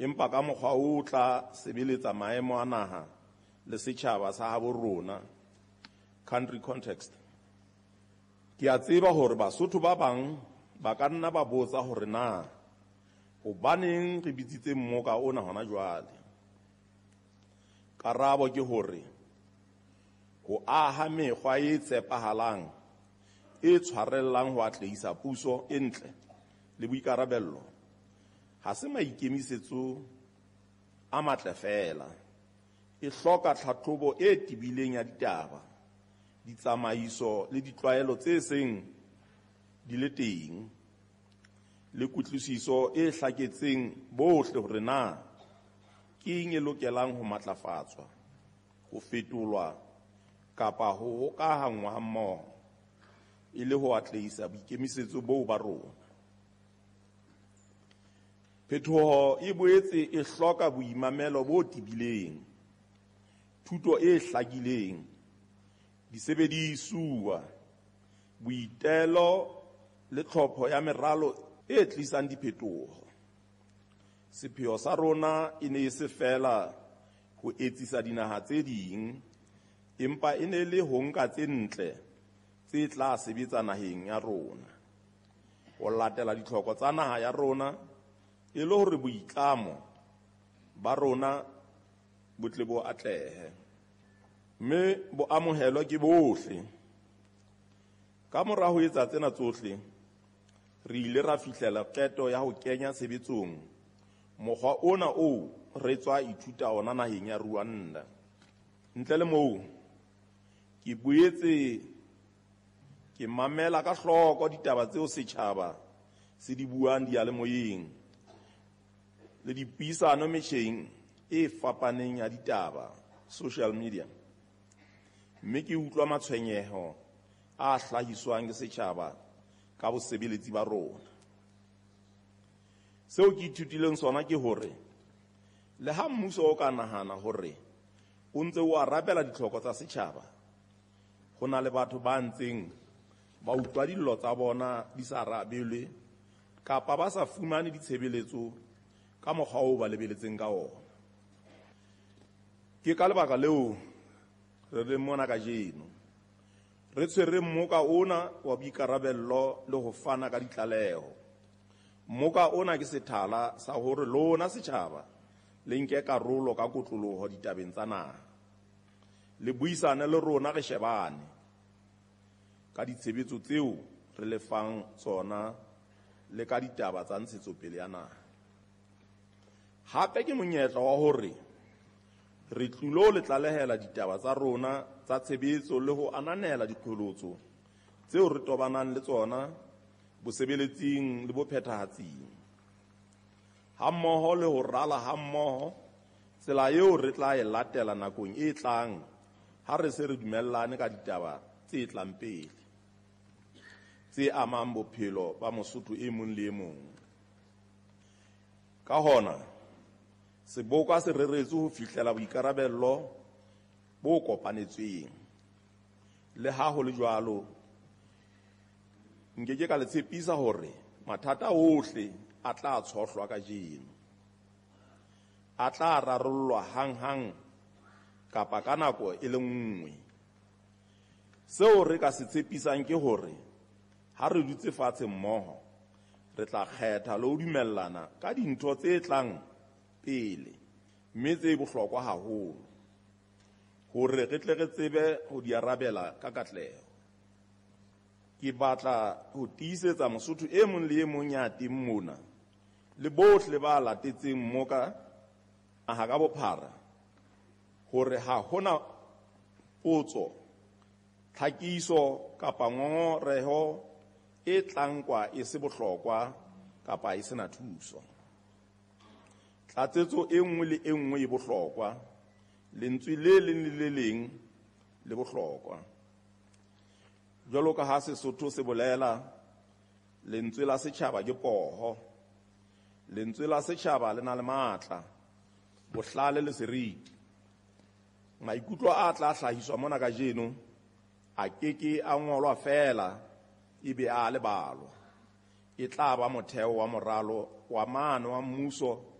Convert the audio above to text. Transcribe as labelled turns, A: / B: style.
A: empa ka mokgwa o tla sebeletsa maemo a naha le setjhaba sa habo rona, country context. Ke a tseba hore Basotho ba bang ba ka nna ba botsa hore na hobaneng re bitsitse mmoka ona hona jwale. Karabo ke hore ho aha mekgwa e tshepahalang e tshwarellang ho atlehisa puso e ntle le boikarabello ha se maikemisetso a matle feela, e hloka tlhahlobo e tebileng ya ditaba, ditsamaiso le ditlwaelo tse seng di le teng, le kutlwisiso e hlaketseng bohle hore na ke eng e lokelang ho matlafatswa, ho fetolwa kapa ho hokahanngwa hammoho e le ho atlehisa boikemisetso boo ba rona. Phetoho e boetse e hloka boimamelo bo tebileng, thuto e hlakileng, disebedisuwa, boitelo le tlhopho ya meralo e tlisang diphetoho. Sepheo sa rona e ne e se feela ho etsisa dinaha tse ding, empa e ne le ho nka tse ntle tse tla sebetsa naheng ya rona, ho latela ditlhoko tsa naha ya rona e le hore boitlamo ba rona bo tle bo atlehe, mme bo amohelwe ke bohle. Ka mora ho etsa tsena tsohle, re ile ra fihlela qeto ya ho kenya tshebetsong mokgwa ona oo re tswa ithuta ona naheng ya Rwanda. Ntle le moo, ke boetse ke mamela ka hloko ditaba tseo setjhaba se di buang diyalemoyeng le dipuisano metjheng e fapaneng ya ditaba, social media, mme ke utlwa matshwenyeho a hlahiswang ke setjhaba ka bosebeletsi ba rona. Seo ke ithutileng sona ke hore le ha mmuso o ka nahana hore o ntse o arabela ditlhoko tsa setjhaba, ho na le batho ba ntseng ba utlwa dillo tsa bona di sa arabelwe kapa ba sa fumane ditshebeletso ka mokgwa oo ba lebeletseng ka ona. Ke ka lebaka leo re leng mona kajeno, re tshwere mmoka ona wa boikarabello le ho fana ka ditlaleho. Mmoka ona ke sethala sa hore lona setjhaba le nke karolo ka kotloloho ditabeng tsa naha. Le buisane le rona re shebane ka ditshebetso tseo re le fang tsona le ka ditaba tsa ntshetsopele ya naha. Hape ke monyetla wa hore re tlilo le tlalehela ditaba tsa rona tsa tshebetso le ho ananela diqholotso tseo re tobanang le tsona bosebeletsing le bophethahatsing, hammoho le ho rala hammoho tsela eo re tla e latela nakong e tlang ha re se re dumellane ka ditaba tse tlang pele tse amang bophelo ba Mosotho e mong le e mong. Ka hona, seboka se reretswe ho fihlela boikarabello bo kopanetsweng. Le ha ho le jwalo, nke ke ka le tshepisa hore mathata ohle a tla tshohlwa kajeno, a tla rarollwa hanghang kapa ka nako e le nngwe. Seo re ka se tshepisang ke hore ha re dutse fatshe mmoho, re tla kgetha le ho dumellana ka dintho tse tlang pele mme tse bohlokwa haholo hore re tle re tsebe ho di arabela ka katleho. Ke batla ho tiisetsa Mosotho e mong le e mong ya teng mona le bohle ba latetseng mmoka naha ka bophara hore ha hona potso, tlhakiso kapa ngongoreho e tla nkwa e se bohlokwa kapa e sena thuso. Tlatsetso e nngwe le e nngwe e bohlokwa, lentswe le leng le le leng le bohlokwa. Jwalo ka ha Sesotho se bolela, lentswe la setjhaba ke poho. Lentswe la setjhaba le na le matla, bohlale le seriti. Maikutlo a tla hlahiswa mona kajeno a keke a ngolwa feela ebe a lebalwa. E tla ba motheo wa moralo wa maano wa mmuso